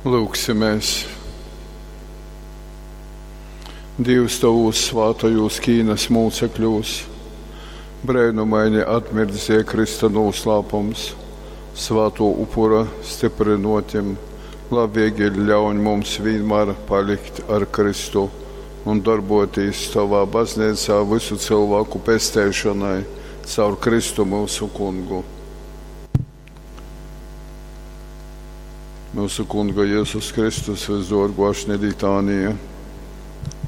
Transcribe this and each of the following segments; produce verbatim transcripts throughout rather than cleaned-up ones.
Lūgsimies! Dievs tovūs svātajūs Kīnas mūcekļūs breinumaini atmirdzēja Krista noslēpums, svāto upura stiprinotim, labvēlīgi ļauj mums vienmēr palikt ar Kristu un darbotīs tovā baznīcā visu cilvēku pesteišanai caur Kristu mūsu kungu. Mūsu kunga Jēzus Kristus visdorgo ašņa litānija.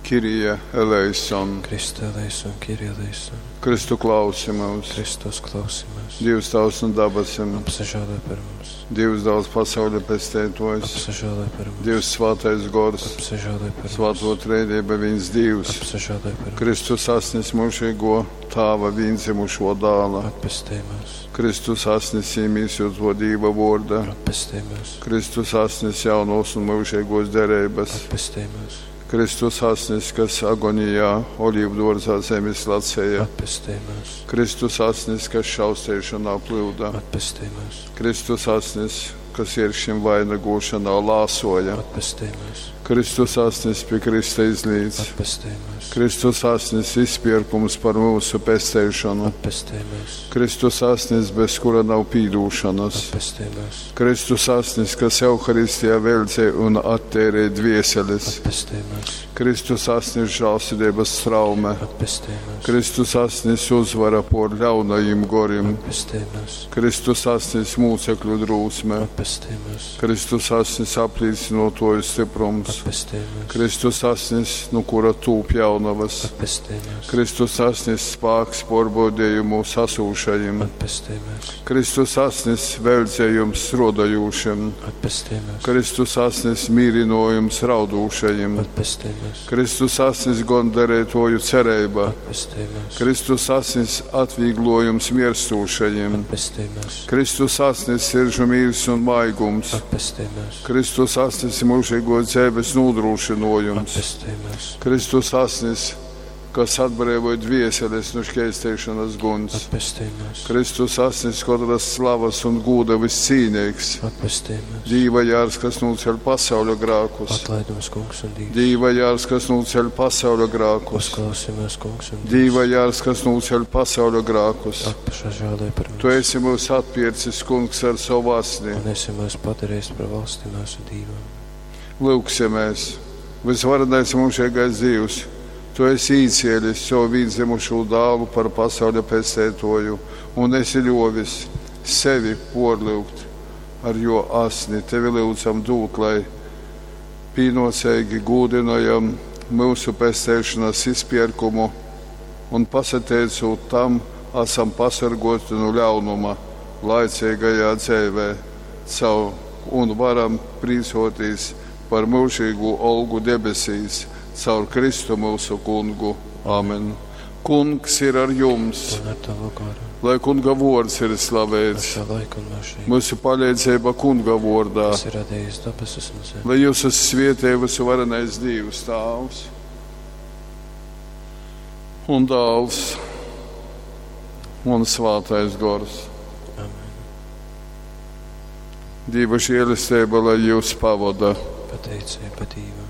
Kirija eleison. Kristu eleison, Kyrie eleison. Kristu klausi mūs. Kristus klausi mūs. Dievs tavs un dabasim. Apsažālē par mums. Dievs dāls pasauļa pestētojs. Apsažālē par mums. Dievs svātais gors. Apsažālē par mums. Svāto trejība viens Dievs. Apsažālē par mums. Kristus asnis mūžīgo tāva vienzimušo dāla. Atpestī mūs. Kristus asnis īmīsoto Dīva vorda. Atpestī mūs. Kristus asnis jaunos un mūžīgos derības. Atpestī mūs. Kristus asnis, kas agonijā olīvdārzā zemes lacēja. Atpestī mūs. Kristus asnis, kas šaustēšanā plūda. Atpestī mūs. Kristus asnis, kas ieršim vainagošanā lāsoja. Atpestī mūs. Kristus asnis pie Krista izlīdz. Atpestī mūs. Kristus asnis izpirkums par mūsu pesteišanu. Atpestī mūs. Kristus asnis, bez kura nav pīdūšanas. Atpestī mūs. Kristus asnis, kas Euharistijā veldzē un attērē dvieseles. Atpestī mūs. Kristus asnis žālsirdības traume. Atpestī mūs. Kristus asnis uzvara por ļaunajiem gorim. Atpestī mūs. Kristus asnis mūcekļu drūsme. Atpestī mūs. Kristus asnis aplīcinotoju stiprums. Atpestī mūs. Kristus asnis, nu kura tūp jaunavas. Atpestī mūs. Kristus asnis spāks porbaudījumu sasūšajiem. Atpestī mūs. Kristus asnis veldzējums strodajūšiem. Atpestī mūs. Kristus asnis mīrinojums raudūšajiem. Atpestī mūs. Kristus asnis gondarētoju cerība. Atpestī mūs. Kristus asnis atvieglojums mirstūšajiem. Atpestī mūs. Kristus asnis siržu mīrs un maigums. Atpestī mūs. Kristus asnis mūžīgo dzīves nodrošinojums. Atpestī mūs. Kristus asnis, kas atbrīvoja dvieseles no šķēstēšanas guns. Atpestī mūs. Kristus asnis, katras slavas un gūda viscīnīgs. Atpestī mūs. Dīva jārs, kas nūceļ pasauļa grākus. Atlaid mums, kungs un Dievs. Dīva jārs, kas nūceļ pasauļa grākus. Uzklausi mūs, kungs un Dievs. Dīva jārs, kas nūceļ pasauļa grākus. Apsažālē par mums. Tu esi mūs atpircis, kungs, ar savu asni. Un esi mūs padarījis par valsti mūsu Dievam. Lūksimies! Visvarenais mūžīgais Dievs, Tu esi īcielis savu vīnzemušo dālu par pasauļa pestētoju un esi ļovis sevi porlūgt ar jo asni. Tevi lūdzam dūt, lai pīnocīgi gūdinojam mūsu pestēšanas izpirkumu un pasateicot tam, esam pasargoti no ļaunuma laicīgajā dzīvē caur un varam prīcoties par mūžīgu olgu debesīs caur Kristu mūsu kungu. Āmen. Kungs ir ar jums, Un ar tavu garu. lai kunga vārds ir slavēts. Šā laika un mūžīgi. Mūsu palīdzība kunga vārdā, Kas ir radījis debesis un zemi. lai jūs svietē visu varenais Dievs Tāvs un Dāls un Svātais Gors. Amen. Dieva žēlastība, lai jūs pavada. Pateicība Dievam.